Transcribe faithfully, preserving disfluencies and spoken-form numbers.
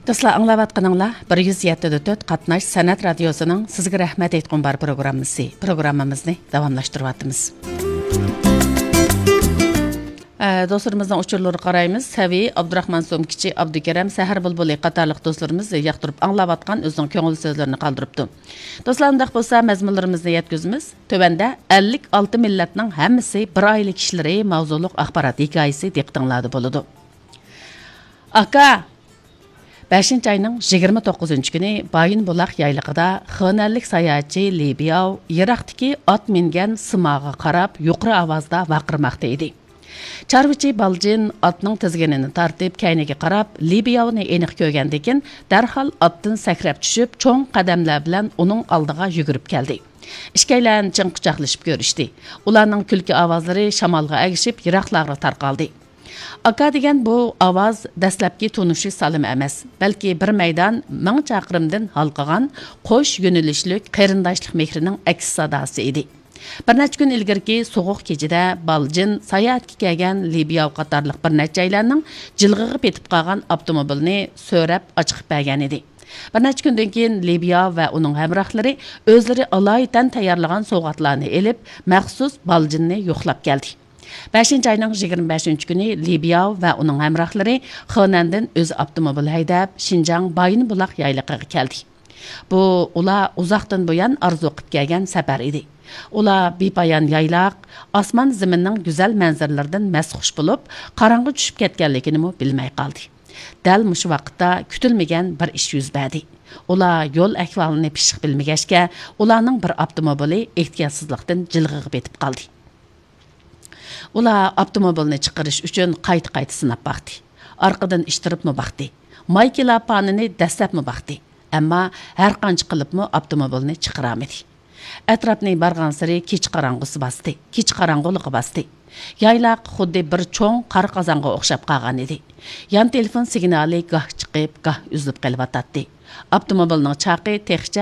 دوستلار، ئاڭلاۋاتقىنىڭلار بىر يۈز يەتتە دە تۆت قاتناش سەنئەت رادىيوسىنىڭ سىزگە رەھمەت ئېيتقۇم بار پروگراممىسى. پروگراممىمىزنى داۋاملاشتۇرۇۋاتىمىز. ئە، دوستلىرىمىزنىڭ ئۇچۇرلىرىغا قارايمىز. سەۋىي، ئابدۇراخمان سومكىچى، ئابدۇكېرەم، سەھەر بۇلبۇلى قاتارلىق دوستلىرىمىز ياقتۇرۇپ ئاڭلاۋاتقان ئۆزىنىڭ كۆڭۈل سۆزلىرىنى قالدۇرۇپتۇ. دوستلار، ئۇنداق بولسا مەزمۇنلىرىمىزنى يەتكۈزىمىز. تۆۋەندە ئەللىك ئالتە مىللەتنىڭ ھەممىسى بىر ئائىلە كىشىلىرى ماۋزۇلۇق ئاخبارات ھېكايىسى دىققىتىڭلاردا بولىدۇ. ئاكا! بەشىنچى ئاينىڭ يىگىرمە توققۇزىنچى كۈنى بايىنبۇلاق يايلىقىدا خېنەنلىك ساياھەتچى لى بياۋ يىراقتىكى ئات مىنگەن سىماغا قاراپ يۇقىرى ئاۋازدا ۋارقىرىماقتا ئىدى. چارۋىچى بالجىن ئاتنىڭ تىزگىنىنى تارتىپ كەينىگە قاراپ، لى بياۋنى ئېنىق كۆرگەندىكىن، دەرھال ئاتتىن سەكرەپ چۈشۈپ، چوڭ قەدەملەر بىلەن ئۇنىڭ ئالدىغا يۈگۈرۈپ كەلدى. ئىككىيلەن چىڭ قۇچاقلىشىپ كۆرۈشتى. ئۇلارنىڭ كۈلكە ئاۋازلىرى شامالغا ئەگىشىپ يىراقلارغا تارقالدى. ئاكا دېگەن بۇ ئاۋاز دەسلەپكى تونۇشۇش سالىمى ئەمەس، بەلكى بىر مەيدان مىڭ چاقىرىمدىن ھالقىغان قوش يۆنىلىشلىك قېرىنداشلىق مېھرىنىڭ ئەكس ساداسى ئىدى. بىر نەچچە كۈن ئىلگىرىكى سوغۇق كېچىدە بالجىن ساياھەتكە كەلگەن لى بياۋ قاتارلىق بىر نەچچەيلەننىڭ جىلغىغا پېتىپ قالغان ئاپتوموبىلنى سۆرەپ ئاچىقىپ بەرگەنىدى. بىر نەچچە كۈندىن كېيىن لى بياۋ ۋە ئۇنىڭ ھەمراھلىرى ئۆزلىرى ئالايىتەن تەييارلىغان سوۋغاتلارنى ئېلىپ، مەخسۇس بالجىننى يوقلاپ كەلدى. بەشىنچى ئاينىڭ يىگىرمە بەشىنچى كۈنى لى بياۋ ۋە ئۇنىڭ ھەمراھلىرى خېنەندىن ئۆزى ئاپتوموبىل ھەيدەپ، شىنجاڭ بايىنبۇلاق يايلىقىغا كەلدى. بۇ ئۇلار ئۇزاقتىن بۇيان ئارزۇ قىلىپ كەلگەن سەپەر ئىدى. ئۇلار بىپايان يايلاق، ئاسمان زېمىننىڭ گۈزەل مەنزىرىلىرىدىن مەستخۇش بولۇپ، قاراڭغۇ چۈشۈپ كەتكەنلىكىنىمۇ بىلمەي قالدى. دەل مۇشۇ ۋاقىتتا كۈتۈلمىگەن بىر ئىش يۈز بەردى. ئۇلار يول ئەھۋالىنى پىششىق بىلمىگەچكە، ئۇلارنىڭ بىر ئاپتوموبىلى ئېھتىياتسىزلىقتىن جىلغىغا پېتىپ قالدى. ئۇلار ئاپتوموبىلنى چىقىرىش ئۈچۈن قايتا-قايتا سىناپ باقتى. ئارقىدىن ئىتتىرىپمۇ باقتى. مايكىلا پانىنى دەسسەپمۇ باقتى. ئەمما ھەرقانچە قىلىپمۇ ئاپتوموبىلنى چىقىرالمىدى. ئەتراپنى بارغانسېرى كېچە قاراڭغۇسى باستى، كېچە قاراڭغۇلۇقى باستى. يايلاق خۇددى بىر چوڭ قارا قازانغا ئوخشاپ قالغان ئىدى. يان تېلېفون سىگنالى گاھ چىقىپ، گاھ ئۈزۈلۈپ قېلىۋاتاتتى. ئاپتوموبىلنىڭ چاقى تېخىچە